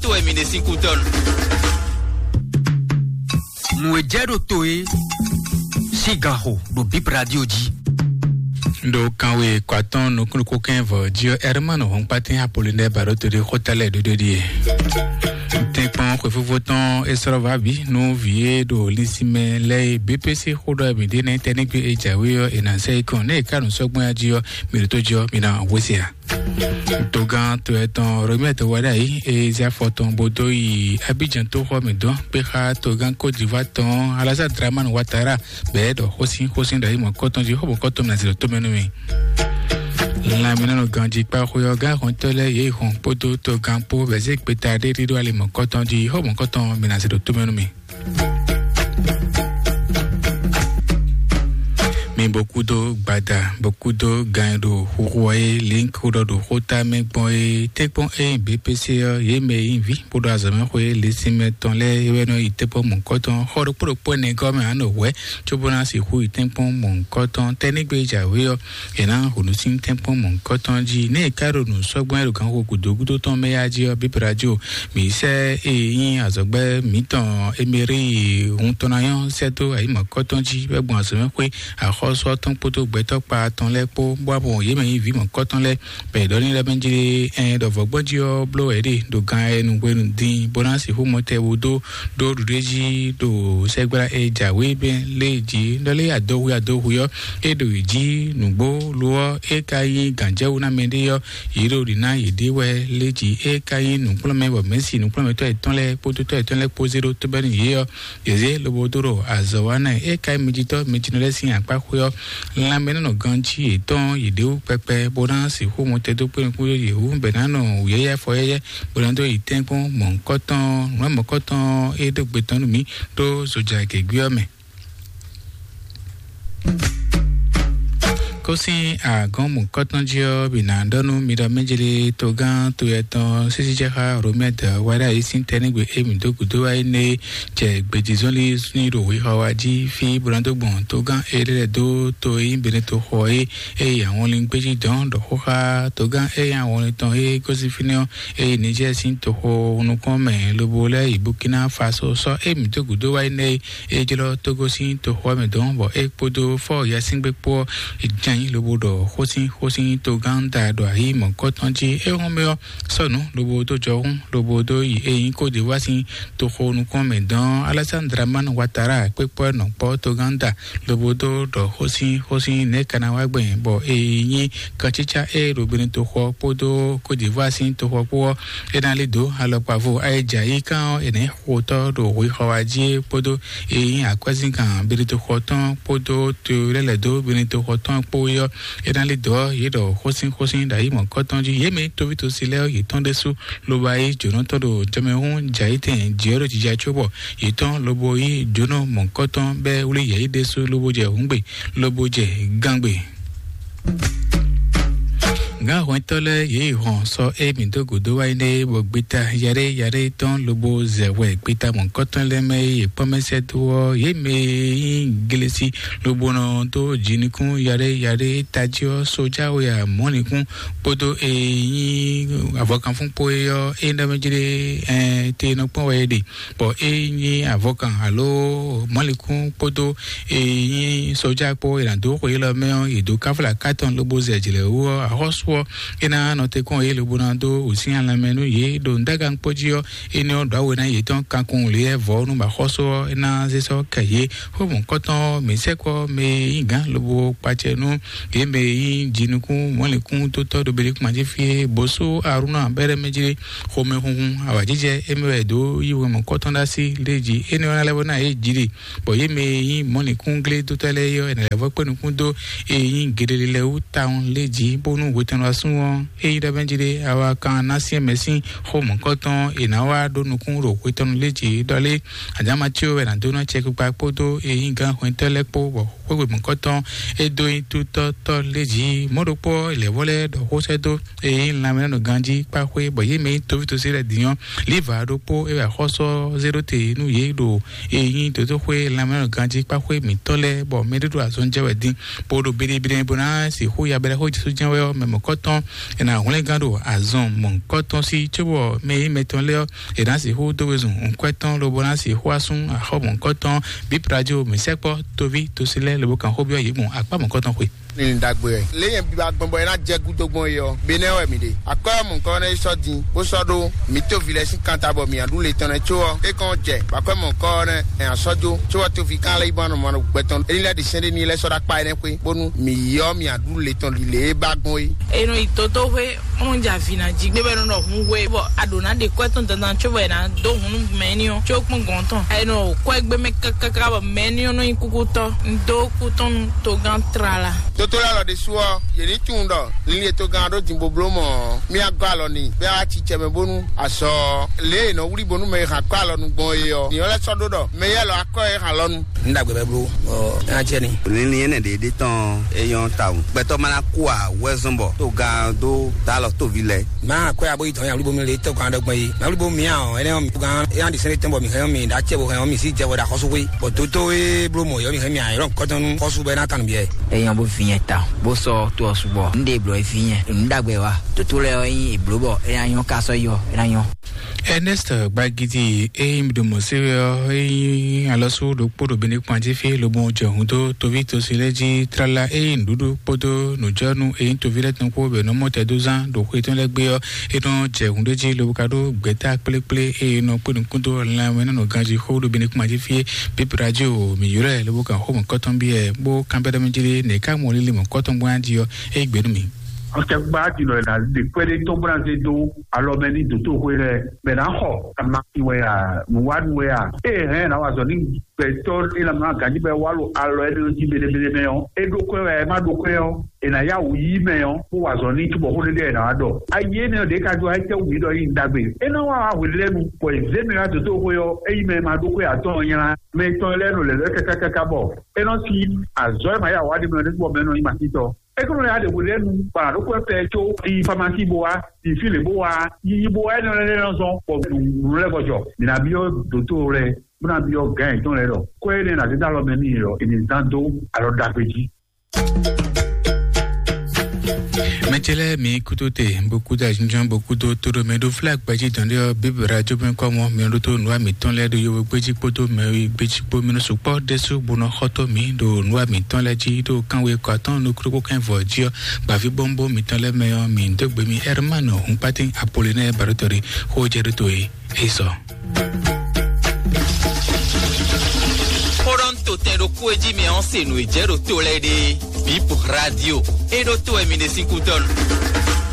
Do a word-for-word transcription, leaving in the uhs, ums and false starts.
To wɛ mi ɖe sín kú tɔn. Nǔ e jɛ ɖo to e sín gan xo ɖo Bib Radio jí. Ɖo kanwe kɔ atɔ́ɔ́n nukúnnukún kɛ́n vɔ jí ɔ́, Ɛrmanu Hɔnkpatɛn Apolinɛ́ɛ ba ɖó to ɖé xó ta lɛ́ɛ ɖóɖó ɖíe. Tɛ́nkpɔ́n xwefófó tɔn é slɔ́ vǎ bǐ nú vǐ e ɖo linsinmɛ lɛ́ɛ e B P C xó ɖɔ mǐ ɖe nɛ́ tɛ́ nígbé e jǎwe ɔ́, è nǎ sɛ́ yi kɔn. Nɛ́ è ká nǔ sɔ́ gbɔn jí ɔ́, mi ɖo tó jí ɔ́, mi ná hwesɛ ǎ. Togán to etɔn Romeo to wá ɖ'ayǐ e zé afɔ tɔn bó dó yi Abidjan tóxɔ mǐ dɔn kpé xá togán Côte d'Ivoire tɔn Alassane Dramane Ouattara bɛɛ ɖɔ xósin xósin ɖo ayǐ mɔ̌kɔtɔn jí xó mɔ̌kɔtɔn mǐ ná zǐ ɖo tómɛ nú mi. Lanmɛnɔnɔ ganjí kpá xwé ɔ́ gán xɔntɔ́ lɛ́ɛ yě hɔn kpódó togán kpó bɛ̌ zé gbeta ɖé ɖíɖó ali mɔ̌kɔtɔn jí xó mɔ̌kɔtɔn mǐ ná zǐ ɖo tómɛ nú mi. Mi bó kúdó gbada bó kúdó gan e ɖo xuxu ɔ́ é link xó ɖɔ ɖo xóta mɛ gbɔn é tɛ́nkpɔ́n é nyí B P C ɔ́, yě mɛ e nyí vǐ bó ɖo azɔ̌ mɛ xwé linsin mɛ tɔn lɛ́ɛ é wɛ nɔ yi tɛ́nkpɔ́n mɔ̌hunkɔtɔn xɔ ɖokpó ɖokpó ɛnɛ gɔ́ mɛ ǎ nɔ hwɛ̌ cóbó ná sixú yi tɛ́nkpɔ́n mɔ̌hunkɔtɔn tɛ́ nígbe e jǎwe ɔ́, è nǎ hǔnú sín tɛ́nkpɔ́n mɔ̌hunkɔtɔn jí. Nɛ́ è ká ɖo nǔ sɔ́ gbɔn é ɖo ganxixo gǔdo gúdo tɔn mɛ yá jí ɔ́, bíblá jí o, mǐ sɛ́ e nyí azɔ̌gbɛ́ mǐtɔn Emerí hun tɔn ná nyɔ́ sɛ́ dó ayǐ mɔ̌hunkɔtɔn jí wɛ gbɔn azɔ̌mɛxwé axɔ́sú ɔ́ tɔn kpódó gbɛtɔ́ kpa tɔn lɛ́ɛ kpó, bó wá mɔ yě mɛ nyí vǐ mɔ̌hunkɔtɔn lɛ́ɛ bɔ è ɖɔ n'i ɖɔ mɛ jí ɛ ɖɔ vɔ̌gbɔ́n jí ɔ́ bló wɛ é ɖe ɖo gan ɛ nu hwenu din bó ná sixú mɔ tɛ wú dó ɖó ɖuɖéjí ɖo sɛgbla e jǎwe bɛn lé jí ɖɔ lé adohu adohu ɔ́ é ɖo yi jí nǔgbó lo ɔ́ é ka nyí gǎnjɛwú ná mɛɖé ɔ́ yě ɖo ɖi ná yě ɖe wɛ lé jí é ka nyí nǔkplɔ́nmɛ bɔ mɛ̌si nǔkplɔ́nmɛtɔ́ yětɔn lɛ́ɛ kpódó tɔ́ yětɔn lɛ́ɛ kpó zé ɖó tóbɛ́nú yě ɔ́ yě zé lobo dó ɖo azɔ̌ wa ná é ka nyí mɛjitɔ́ mɛjinɔ lɛ́ɛ sín akpá xwé ɔ́ lanmɛ nɔ ganjí yětɔn yě ɖe wú kpɛkpɛ bó ná sixú mɔ tɛ dó kpé nukún yě wú bɛ ná nɔ wǔyɛ́yɛ́ fɔyɛ́yɛ́ bó ná dó yi tɛ́nkpɔ́n mɔ̌hunkɔtɔn nǔ mɔ̌hunkɔtɔn e ɖó gbe tɔn nú mǐ ɖó zoja gěgé ɔ́ mɛ. Kó sín agɔ̌n mɔ̌hunkɔtɔn jí ɔ́, bǐ ná ɖɔ nú mi ɖɔ mɛjlí togán to yɛtɔn sísíjɛxá Romɛ́ dɔ̌ wá ɖ'ayǐ sín tɛ́núgbe e mǐ dó gǔdo wá énɛ́ jɛ gbejizɔ́nlí sín ɖo hwexɔ wá jí fí bó ná dó gbɔn togán e ɖé lɛ́ɛ dó to e nyí Beneto xɔ é e yi awɔnlin gbéjí dɔn ɖɔ xó xá togán e nyí awɔnlin tɔn e gosín fínɛ́ ɔ́, e yi Nijɛ́ɛ sín toxo nukɔn mɛ lobo lɛ́ yi Burkina Faso sɔ́ e mǐ dó gǔdo wá énɛ́ é jlɔ́ Togo sín toxo ɔ́ mɛ dɔn bɔ é kpódó fɔ́ yasíngbe kpó ɔ́ jɛ́n lobo ɖɔ xósin xósin togán da ɖo ayǐ mɔ̌kɔtɔn jí é hɔn mɛ ɔ́ sɔ́nǔ lobo dó jɔhún lobo dó yi e nyí Côte d'Ivoire sín toxo nukɔn mɛ dɔn Alassane Dramane Ouattara kpékpɔ́ nɔkpɔ́ togán da lobo dó ɖɔ xósin xósin nɛ̌ ka ná wá gbɛn bɔ e nyí katsítsá e ɖo Benin toxo ɔ́ kpódó Côte d'Ivoire sín toxo ɔ́ kpó ɔ́ é ná lí dǒ alɔkpa vo ayɛjɛ ayíká ɔ́ è nǎ xo tɔ́ ɖo hwexɔ wá jí é kpódó e nyí akwɛ́zíngán Benin toxo tɔn kpódó to lɛ́ lɛ̌ dó Benin toxo tɔn kpó é ɔ́ é ná lí dǒ ɔ́ yě ɖɔ xósin xósin ɖo ayǐ mɔ̌kɔtɔn jí yě mɛ tóvítosi lɛ́ɛ ɔ́ yě tɔn ɖésú lobo ayí jǒnɔ tɔn ɖo jɔmɛhún jɛ ayítɛn jǐ ɔ́ ɖo jija có bɔ yě tɔn lobo yí jǒnɔ mɔ̌kɔtɔn bɛ́ wlí yɛ̌yi ɖésú lobo jɛ hǔngbe lobo jɛ gángbe. Gǎnhwɛntɔ́ lɛ́ɛ yě yi hɔn sɔ e mǐ dó gǔdo wá yi nɛ́ bɔ gbeta yaɖé yaɖé tɔn lobo zɛ hwɛ gbeta mɔ̌kɔtɔn lɛ́ɛ mɛ e yě kpɔ́n mɛ sɛ́ dó ɔ́ yě mɛ e nyí glesi lobo nɔ dó jinukún yaɖé yaɖé tají ɔ́ sójáwe amɔ̌nikún kpódó e nyí avɔkanfún kpó é ɔ́ é ɖɔ mɛ jí ɖé ɛn te nɔ kpɔ́n wɛ é ɖe bɔ é nyí avɔkan alo mɔ̌likún kpódó e nyí sɔjá kpó è nǎ dó xwe élɔ́ mɛ ɔ́ yě dó káfla kátɔn lobo zɛ jlɛ̌ wú ɔ́ axɔ́sú ɔ́ é ná nɔ te kɔn yě lobo ná dó wǔsyɛ́n lanmɛ nú yě ɖo ndágankpó jí ɔ́ énɛ́ ɔ́ ɖǒ awe ná yětɔn kankun lě vɔ̌ nú axɔ́sú ɔ́ é ná zé sɔ́ kɛ yě xó mɔ̌kɔtɔn mǐ sɛkpɔ́ mɛ e nyí gǎn lobo kpacɛ nú yě mɛ e nyí jinukún mɔ̌likún tótɔ́ ɖo beɖékúma jí fí é bó sú arúnɔ abɛ́ɖɛ́ mɛ jí xomɛhunhun awǎjijɛ émí wɛ è dǒ yí wɛn mɔ̌kɔtɔn ɖó así lé jí énɛ́ ɔ́ ná lɛ́ bó ná yě jí ɖe bɔ yě mɛ e nyí mɔ̌likúnglé dótɔ́ lɛ́ɛ é ɔ́ è nǎ lɛ́ vɔ́ kpé nukún dó e nyí geɖele lɛ́ɛ wú tawun lé jí bónú hwetɛnnu asún ɔ́ é nyí ɖɔ mɛ jí ɖe awa kan ná syɛ́n mɛ sín xó mɔ̌kɔtɔn è nǎ wá ɖó nukún ɖo hwetɛnnu lé jí ɖɔ lé Adámatíó wɛ ná dó ná cɛkpikpa kpódó e nyí gǎn hwɛntɔ́ lɛ́ɛ kpó bɔ xwé mɔ̌kɔtɔn é dó nyí tútɔ́tɔ́ lé jí mɔ̌ ɖokpó lɛ̌vɔ́ lɛ́ɛ ɖɔ xó sɛ́ dó e nyí lanmɛnɔganjí kpáxwé bɔ yě mɛ nyí tovítosí lɛ́ɛ din ɔ́ líva ɖokpó é wɛ axɔ́sú ɔ́ zé ɖó te nú yě ɖo e nyí dotóxwé lanmɛnɔganjí kpáxwé mǐtɔn lɛ́ɛ bɔ mɛɖé ɖo azɔn jɛ wɛ din bó ɖo biɖibiɖi bó ná sixú ya bɛlɛxó Jesu jɛ́n wɛ ɔ́ mɛ mɔ̌kɔ mɔ̌hunkɔtɔn, è nǎ hwlɛ́ngán ɖo azɔn mɔ̌hunkɔtɔn sí, cóbɔ mɛ e nyí mɛtɔn lɛ́ɛ ɔ́, è nǎ sixú dó wezun nǔkwɛ́tɔn, lobo ná sixú asún axɔ́ mɔ̌hunkɔtɔn. Bíp Radio mǐ sɛkpɔ́ toví tosí lɛ́ɛ lobo kan xó byɔ́ yě gbɔn akpá mɔ̌hunkɔtɔn xwe. Ní ɖagbe wɛ. Lě nyɛ biba gbɔn bɔ é ná jɛ gúdo gbɔn é ɔ́, Benɛ́ wɛ mǐ ɖe. Akwɛ́ mɔ̌hunkɔtɔn ɔ́ nɔ yi sɔ́ din, bó sɔ́ ɖó mǐ tóvi lɛ́ɛ sín kanta bɔ mǐ aɖú le tɔn nɛ́ có ɔ́, é kɔn jɛ bɔ akwɛ́ mɔ̌hunkɔtɔn ɔ́ nɛ́ ɛ ná sɔ́ jó, có ɔ́ tóvi kan lɛ́ yi bɔ nɔ mɔ gbɛtɔn. Éní lɛ́ ɖi sɛ́n ɖé n'i lɛ́ sɔ́ ɖó akpá énɛ́ xwé, bónú mǐ yi ɔ́ mǐ aɖú le tɔn ɖi lě e ba gbɔn é. È nɔ yi dotoxwé, bó nɔ jɛ avǐ ná jí gbé bɔ è nɔ ɖɔ hun we, bɔ a ɖǒ ná ɖe kwɛ́ tɔn dandan có bɔ è nǎ dó hun nú mɛ éní ɔ́, có kpɔ́n gɔ̌n tɔn. È nɔ kwɛ́ gbé mɛ káká bɔ mɛ éní ɔ́ nɔ nyí kúkútɔ́. Un dó kú tɔn nú togán tlala. Toto lɛ́ɛ lɔ ɖésú ɔ́, yě ní tunwun ɖɔ linlin e togán ɔ́ ɖó din bó bló mɔ̌ ɔ́, mí á gɔ́ alɔ n'i, bɔ é wá ci cɛ mɛ bónú azɔ lě e è nɔ wlí bónú mɛ e hɛn akwɛ́ alɔnu gbɔn é ɔ́, nǐ ɔ́ lɛ́ sɔ́ ɖó ɖɔ mɛ yɛ́ lɔ akwɛ́ e hɛn alɔnu. Ní ɖagbe bɛ bló, ɔ, é ná jɛ ní. Linlin énɛ́ ɖě ɖé tɔn é nyɔ́ tawun. Gbɛtɔ́ ma ná kú ǎ wɛ zɔn bɔ togán dó dá alɔ tóvi lɛ́ɛ. Má akwɛ́ abo yi dɔn ya wlí bónú lě tɔgán ɖɔ gbɔn é. Má wlí bónú mǐ ǎ ɔ́, énɛ́ ɔ́, mǐ gán é ná ɖi sɛ́n ɖé tɔn bɔ mǐ hɛn ɔ́, mǐ ɖó acɛ bó hɛn ɔ́, mǐ sí jɛ bɔ ɖo axɔ́sú xwé. Bɔ dótó e bló mɔ̌ é ɔ́, mǐ hɛn mǐ ǎ, é ɖɔ nǔkɔntɔn nú xɔ́sú bɔ é ná tan nǔ byɔ́ ɛ. É nyɔ́ bó vǐ nyɛ ta, bó sɔ́ tó ɔ́ su bɔ un ɖe blǒ é vǐ nyɛ. Un ɖagbe wa. Dótó lɛ́ɛ ɔ́ nyí è blǒ bɔ é ná nyɔ́ ká sɔ́ yi ɔ́, é ná nyɔ́. Ernest Gbagidi e nyí ɖo mɔ̌ sé wɛ ɔ́, é nyí alɔsú ɖokpó ɖo Benekpan jí fí lobo jɛ hǔn dó toví tosi lɛ́ɛ jí tlala e nyí nǔɖuɖu kpódó nǔjɔnú e nyí toví lɛ́ɛ tɔn kpó bɔ è nɔ mɔ tɛdózán ɖo xwe tɔn lɛ́ɛ gbé ɔ́, é nɔ jɛ hǔn ɖé jí lobo ka ɖó gbɛ̌ta kplékplé e è nɔ kpé nukún dó lanmɛ nɔ ganjí xó ɖo Benekpan jí fí é. Bíp Radio mǐ ylɔ́ ɛ lobo kan xó mɔ̌kɔtɔn byɔ́ ɛ, bó kanbyɔ́ ɖɔ mɛ jí ɖé nɛ̌ ká mɔ lílí mɔ̌kɔtɔn gbɔn jí ɔ́, é gbě nú mì. Ɔtɛgbá dinɔ ɛ na ɖe kpɛɖé tɔn bó ná zé dó alɔ mɛ ní dǒtó xwé lɛ́ɛ, bɛ ná xɔ ama wɛ a, nǔwánu wɛ a, ée hɛn ná wa zɔ ní gbɛtɔ́ é ná má ganjí bɛ wá lo alɔ ɛnɛ jí belebele mɛ ɔ́, é ɖó kwɛ wɛ, é má ɖó kwɛ ɔ́, è nǎ yá wǔ yí mɛ ɔ́, bó wa zɔ ní cóbɔ xó ɖé ɖé è nǎ wá ɖɔ. Ayi énɛ́ ɖě ka jó ayítɛ́ wǔ mǐ ɖɔ yí ɖagbe. É ná wá wá hwelɛ́nu, bɔ è zě mɛ wá dǒtó xwé ɔ́, é yí mɛ e ma ɖó kwɛ atɔ́ɔ́n nylá. Mɛ tɔn lɛ́ɛ nɔ lɛ̌ lɛ́ kákákáká bɔ é nɔ sí azɔ̌ e ma yá wá ɖé mɛ ɔ́ ɖésú bɔ mɛ nɔ nyí masítɔ́. É kúnnu ya ɖe hwelɛ́nu bɔ a nǎ ɖó kú ɛfɛ có yi famasi bó wá, yi fí lě bó wá, yi yi bó wá, énɛ́ lɛ́ɛ nɔ zɔn bɔ nǔ lɛ́ɛ kɔ jɔ. Mǐ ná byɔ́ dǒtó lɛ́ɛ, bó ná byɔ́ gǎn yětɔn lɛ́ɛ ɖɔ kwɛ́ énɛ́ ná zé dó alɔ mɛ n'i ɔ́, è nǐ zán dó alɔ ɖagbe jí. Mɛjɛ lɛ́ɛ mi kúdó te, bó kúdó ajínjɔ́n, bó kúdó tóɖó mɛ ɖó flá gbɛjí dɔn ɖé ɔ́, bíbélì ajó bɛ́ kɔ́ mɔ mi ɖó tó nǔ wa mǐtɔn lɛ́ɛ ɖó yovó gbéjí kpódó mɛ gbéjí kpó mi nɔ sukpɔ́ ɖésú bó nɔ xɔ́tɔ́ mǐ ɖo nǔ wa mǐtɔn lɛ́ɛ jí ɖó kánwe kɔ atɔ́ɔ́n nukúnnú kɛ́n vɔ jí ɔ́, gbǎví bɔ́nbɔ́n mǐtɔn lɛ́ɛ mɛ ɔ́, mǐ dó gbe mi Ɛrmánu Hunkpátín Apolonɛ́ɛ Baɖótɔ́ ɖé xó jɛ ɖó to é. Isso. Xó ɖɔ un to tɛn ɖokpó e jí mi ɔ́ se nǔ e jɛ ɖo to lɛ́ɛ ɖe. Bip Radio. E ɖó to wɛ mi ɖe sín kútɔ́nu.